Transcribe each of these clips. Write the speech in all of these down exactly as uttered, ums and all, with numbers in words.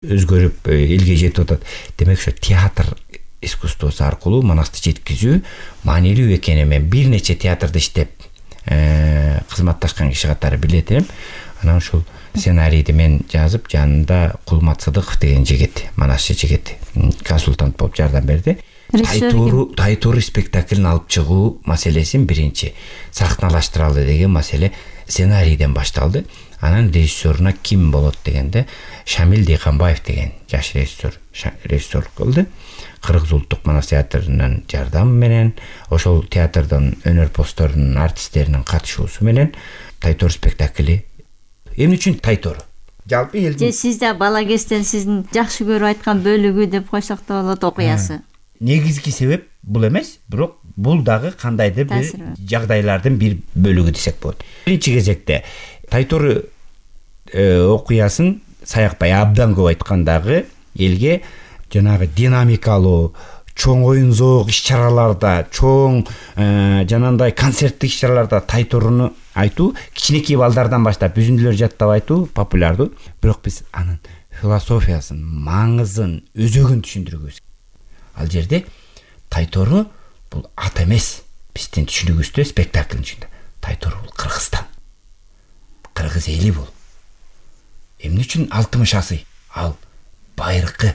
өзгөрүп элге жетип атат. Демек ошо театр искусствосу аркылуу Манасты жеткизүү маанилүү экенин мен бир нече театрда иштеп кызматташкан киши катары билет элем. Анан ушул сценарийди мен жазып, жанында Кулмат Сыдыков деген жигит, Манасчы жигит консультант болуп жардам берди. Тайтуру Тайтуру спектаклин алып чыгуу маселесин биринчи сахналаштыралы деген маселе сценарийден башталды. Анан режиссеруна ким болот дегенде Шамил Дыйканбаев деген жаш режиссер режиссер кылды. Кыргыз улуттук Манас театрынын жардамы менен, ошол театрдын өнөр-постторунун артисттеринин катышуусу менен Тайтор спектакли. Эмне үчүн Тайтор? Жалпы элдин. Же сизде бала кезден сиздин жакшы көрүп айткан бөлүгү деп койсок да болот окуясы. Негизги себеп бул эмес, бирок бул дагы кандайдыр бир жагдайлардын бир бөлүгү десек болот. Биринчи кезекте Тайтор окуясын Саякбай абдан көп айткандагы элге жанагы динамикалуу, чоң оюн-зоок иш-чараларда, чоң жанандай концерттик иш-чараларда Тайторуну айтуу, кичинекей балдардан баштап үзүндүлөр жаттап айтуу популярдуу. Бирок биз анын философиясын, маңызын, өзөгүн түшүндүргүбүз. Ал жерде Тайтору бул ат эмес. Биздин түшүнүгүбүздө спектаклдын ичинде Тайтору бул Кыргызстан. Кыргыз эли бул. Эмне үчүн алтымыш асый? Ал байыркы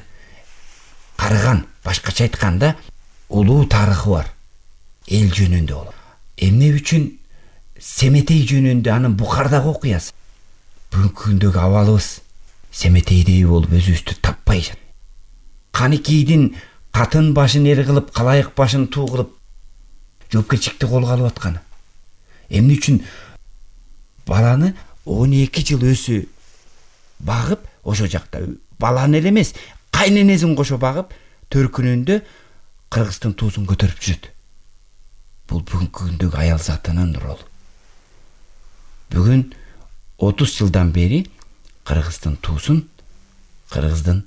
карыган, башкача айтканда улуу тарыхы бар. Эл жөнүндө болот. Эмне үчүн Семетей жөнүндө анын Бухардагы окуясы? Бүгүнкү күндөгү абалыбыз Семетейдей болуп өзүбүздү таппай жатат. Каникейдин катын башын эр кылып, калайык башын туу кылып жоопкерчиликти колго алып атканы. Эмне үчүн баланы он эки жыл өсү багып, ошо жакта баланы эле эмес, кайненесин кошо багып, төркүнүндө Кыргыздын туусун көтөрүп жүрөт. Бул бүгүнкү күндөгү аял затынын ролу. Бүгүн отуз жылдан бери Кыргыздын туусун Кыргыздын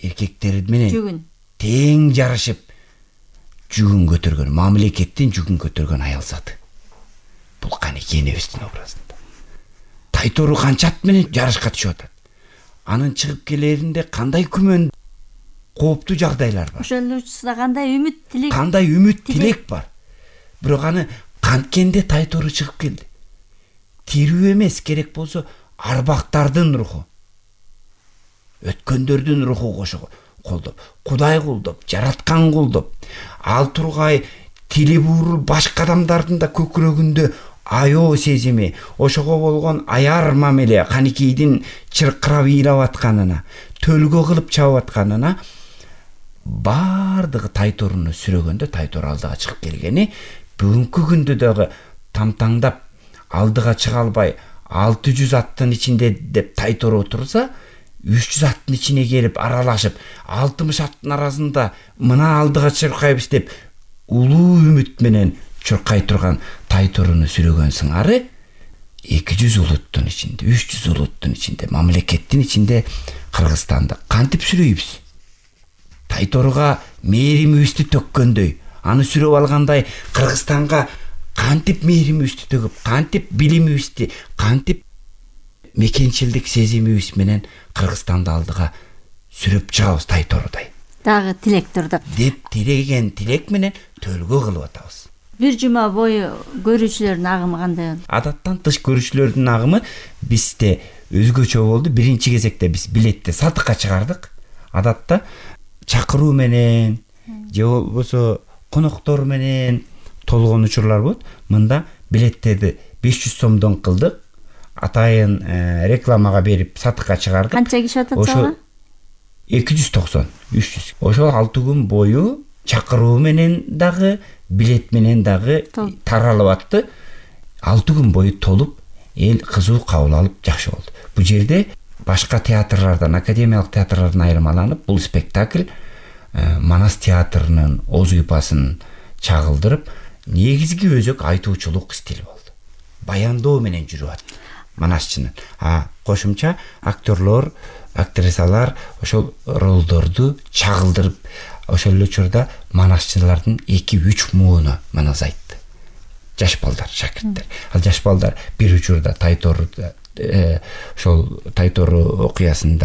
эркектери менен тең жарышып жүгүн көтөргөн, мамлекеттин жүгүн көтөргөн аял заты. Бул Каникей энебиздин образында. Тайтору канчат менен жарышка түшүп атат. Анын чыгып келеринде кандай күмөн, кооптуу жагдайлар бар. Ошолучусунда кандай үмүт, тилек, кандай үмүт, тилек бар. Бирок аны канткенде Тайтору чыгып келди. Тирүү эмес, керек болсо арбактардын руху, өткөндөрдүн руху кошо колдоп, Кудай колдоп, жараткан колдоп, ал тургай тили буурул башка адамдардын да көкүрөгүндө аёо сезими, ошого болгон аяр мамиле, Каникейдин чыркырап ыйлап атканына, төлгө кылып чабып атканына бардыгы Тайторуну сүрөгөндө Тайтор алдыга чыгып келгени, бүгүнкү күндө дагы тамтаңдап алдыга чыга албай алты жүз аттын ичинде деп Тайтор отурса, үч жүз аттын ичине келип аралашып, алтымыш аттын арасында мына алдыга чуркайбыз деп улуу үмүт менен чуркай турган Тайторуну сүрөгөн сыңары эки жүз улуттун ичинде, үч жүз улуттун ичинде, мамлекеттин ичинде Кыргызстанды кантип сүрөйбүз? Тайторуга мээримибизди төккөндөй, аны сүрөп алгандай Кыргызстанга кантип мээримибизди төгүп, кантип билимибизди, кантип мекенчилдик сезимибиз менен Кыргызстанды алдыга сүрөп чыгабыз Тайторудай. Дагы тилек турду. Деп тилеген тилек менен төлгө кылып атабыз. Бир жума бою көрүүчүлөрдүн агымы кандай? Адаттан тыш көрүүчүлөрдүн агымы бизде өзгөчө болду. Биринчи кезекте биз билетти сатыкка чыгардык. Адатта чакыруу менен же болбосо коноктор менен толгон учурлар болот. Мында билеттерди беш жүз сомдон кылдык. Атайын рекламага берип сатыкка чыгардык. Канча киши атат? эки жүз токсон, үч жүз. Ошол алты күн бою чакыруу менен дагы, билет менен дагы таралып атты. алты күн бою толуп, эл кызуу кабыл алып жакшы болду. Бул жерде башка театрлардан, академиялык театрлардан айырмаланып, бул спектакль Манас театрынын оз уйпасын чагылдырып, негизги өзөк айтуучулук стили болду. Баяндоо менен жүрүп атты Манасчынын. А кошумча актерлор, актрисалар ошол ролдорду чагылдырып, ошол эле учурда Манасчылардын эки үч мууну Манас айтты. Жаш балдар, шакирттер. Ал жаш балдар бир учурда Тайторду ошол Тайтору окуясында